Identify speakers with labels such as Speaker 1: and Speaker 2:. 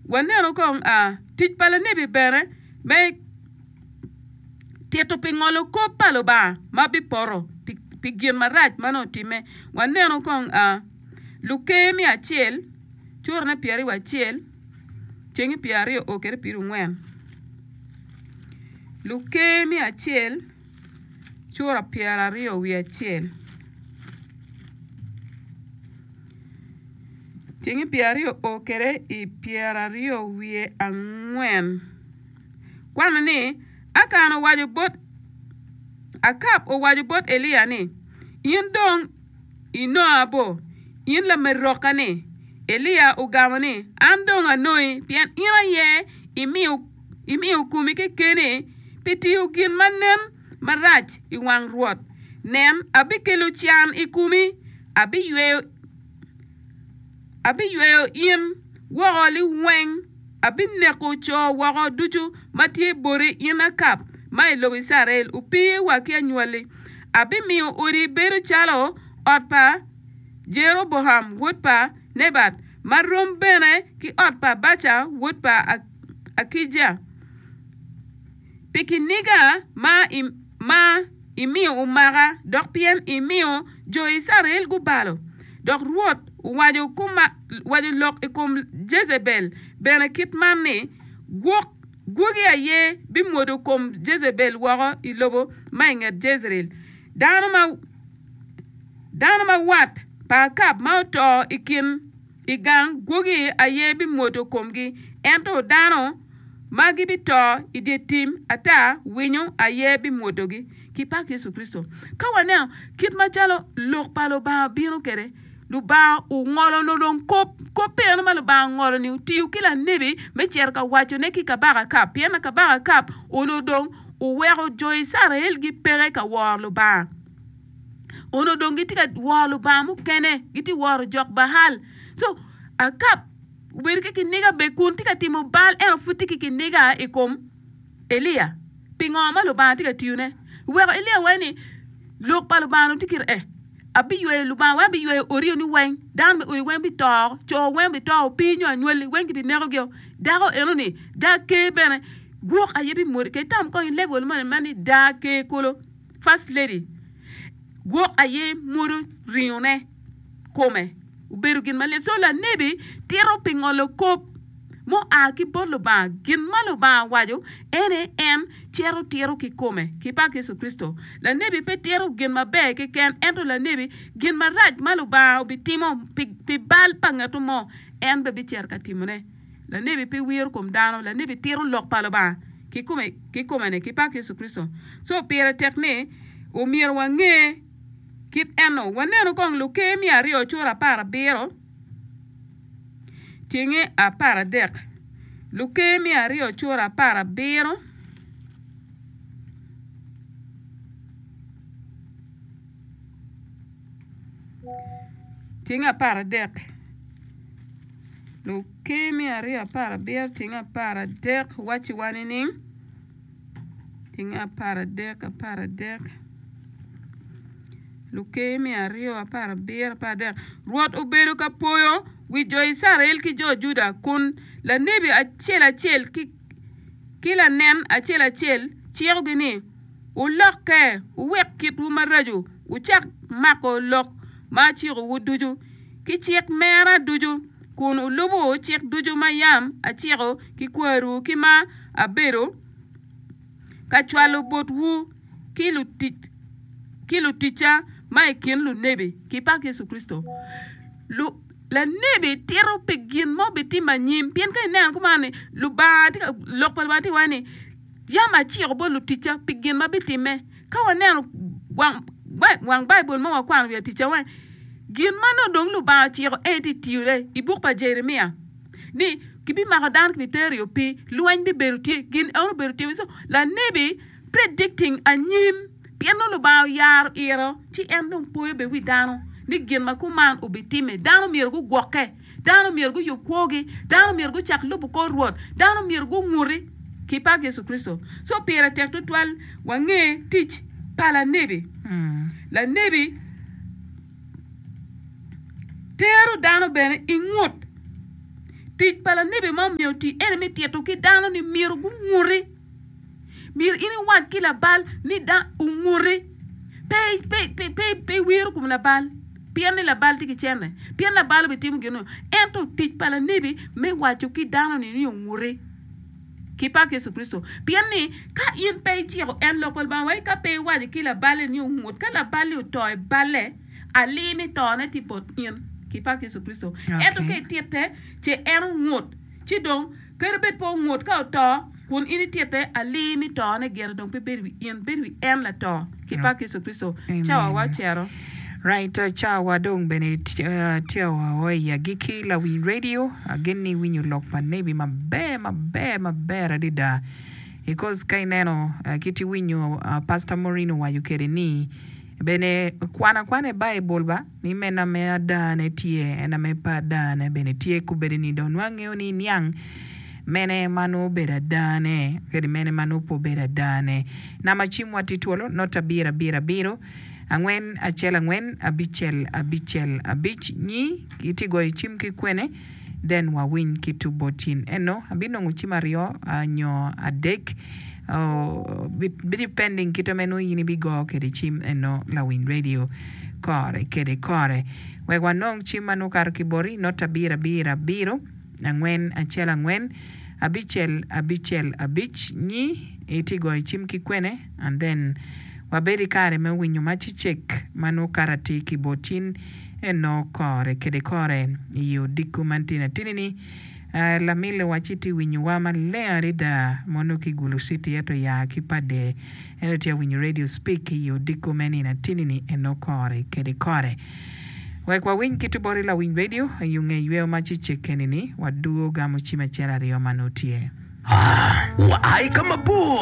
Speaker 1: Wanenu kong tic pa lanebi bene me tito pi ngolo kop pa Lubanga ma bipoto pi gin marac ma nongo otimme. Wanenu kong Luker me acel, curane pyeraryo acel, cengi pyeraryo o kwede pyerangwen. Luker me acel, cura pyeraryo wiye acel. Cengi pyeraryo o kwede i pyeraryo wiye angwen. Kwano ni, Akan owaco bot Akab owaco bot Elia ni, In dong inonga bo, in lamerokka-ni? Elia ogamo ni, An dong anongi, pien in aye imiyo komi kekeni pi tiyo gin ma nen marac i wang Rwot. Nen, abikelo can i komi, abiyweyo in woko liweng, abineko co woko ducu ma tye boti, in Akab ma i lobo Icrael, opii wa ki anywalli. Abimiyo odi bedo calo ot pa Jeroboam wod pa Nebat, ma rom bene ki ot pa Baca wod pa Akija, pi kiniga ma imiyo omaka, dok pien imiyo jo Icrael gubalo. Dok Rwot owaco lok i kom Jejebel bene kit man ni, Gwok gwogi aye bimwodo kom Jejebel woko i lobo ma i nget Jejreel. Dano ma wat pa Akab ma oto i kin i gang gwogi aye bimwodo komgi, ento dano ma gibito i dye tim ata winyo aye bimwodogi. Ki pak Yecu Kricito. Ka waneno kit macalo lok pa Lubanga bino kwede, Lubanga ongolo dong kop, kop eno ma Lubanga ongolo-ni otiyo ki lanebi me cito ka wacone ki kabaka Akab, pien kabaka Akab onongo dong oweko jo Icrael gipeke ka woro Lubanga. Onongo dong gitye ka woro lubanga mukene, gitye ka woro jok Baal. Co Akab obedo ki kiniga bene kun tye ka timo bal ento pud tye ki kiniga i kom Elia. Pingo ma Lubanga tye ka tiyone? Weko Elia waco ni lok pa Lubanga dong tye kite eh, abiyweyo Lubanga weng abiyweyo odi ni weng, dano me odi weng bito, co weng bito, opii nyo anywali weng kibinekogi-o. Dako eno-ni daa ker bene gwok aye bimwodi. Kadi tam kong i level moni ma ni daa ker kulu. First lady gwok aye mwodo ringone kome obedo gin malit so lanebi tito pi ngolo kop mua ki bot Lubanga gin ma Lubanga owaco ene en cito tito ki kome ki pak Yecu Kricito lanebi pe tito gin maber keken ento lanebi gin marac ma Lubanga obitimo pi bal pa ngat mo en bene bicito ka timone. Lanebi pe wiro kom dano, lanebi tito lok pa Lubanga kikome kikome-ni ki pak Yecu Kricito. Co pire tek ni omyero wange kit eno. Wanenu kong Luker miya aryo cura aparabiro tyenge aparadek. Luker miya aryo cura aparabiro. Tyenge aparadek. Luker me aryo aparabiro tyenge aparadek wacciwa nining? Tyenge aparadek aparadek Luker me aryo aparabiro aparadek Rwot obedo ka poyo wi jo Icrael ki jo Juda kun lanebi acel acel ki lanen acel acel cikogi ni, Wulokke, wuwek kitwu maraco, wucak mako lok ma acikowu ducu. Ki cik mera ducu, kun wulubo cik ducu ma yam aciko ki kwariwu ki ma abedo ka cwalo botwu ki luticca ma i kin lunebi, ki pak Yecu Kricito. Lanebi tito pi gin ma obitimo anyim, pien ka ineno kuman ni Lubanga tye ka, lok pa Lubanga tye ka waco ni, Yam aciko bot luticca pi gin ma bitimme. Ka waneno wang Baibul ma wakwano wi aticca weng, gin ma nongo dong Lubanga ociko en tye tiyone i buk pa Jeremia ni kibimako dano kibitero i opii, lweny bibedo tye, gin eno obedo tye. So lanebi predicting anyim pien nongo Lubanga oyaro iro ci en dong poyo bene wi dano ni gin ma kuman obitimme. Dano myero gugwokke. Dano myero guyub kwogi, dano myero gucak lubo kor Rwot, dano myero gunguti ki pak Yecu Kricito. Co pire tek tutwal wange tic pa lanebi. Lanebi tero dano bene i ngut. Tic pa lanebi ma omyero oti ene me tito ki dano ni myero gunguti. Myero in iwac ki labal ni da onguti. Pe, pe, pe, pe, pe iwiro kom labal pien ni labal tye ki cente, pien labal obitimo gin-nu. Ento tic pa lanebi me waco ki dano-ni ni onguti. Ki pak Yecu Kricito. Pien ni, ka in pe iciko en lok pa Lubanga wai ka pe iwaco ki laballe ni ongut, ka laballi oto i balle, alii me tone tye bot in. Ki pak Yecu Kricito. Ento ka ititte, ce en ongut, ci dong, kadi bed pe ongut, ka oto, kun in ititte, alii me tone gire dong pe bedo i wi in, bedo i wi en lato. Ki pak Yecu Kricito. Cawa wa ocito.
Speaker 2: Right, cawa dong bene tye wa o i agikki lawiny radio agen ni iwinyo lok pa nebi maber maber maber adada because ka ineno kit iwinyo pastor Maureen owaco kwede ni bene kwan akwana i baibul ba ni meno ame adane tye en ame pe adane bene tye kubedi ni dong nongo angeyo ni iniang mene ma nongo obedo adane kadi mene ma nongo pe obedo adane namba cim wa tye twolo not abiro abiro abiro Angwen acel angwen abicel abicel abic nyi itye goyo cim ki kwene then wa winy ki tu bot yin eno abinongo cim aryo nyo adek depending kite ma nongo yin ibigo kede cim eno lawiny radio kore kede kore wek wanong cim ma nongo okato ki boti not abiro abiro abiro angwen acel angwen abicel abicel abic nyi itye goyo cim ki kwene and then wabed i kare me winyo ma cicek ma nongo kato atir ki bot cin eno kore kede kore i odiko man tyen atini ni lamille wa ci tye winyo wa maleng adada mono ki Gulu city ento ya ki Pader ento tye winyo radio speak i odiko me nino atini ni eno kore kede kore wek wawiny kit boti lawiny radio i nge yweyo ma cicek eni ni wadwogo gamo cim acel aryo ma nongo tye.
Speaker 3: Aa, wa i ka mabor.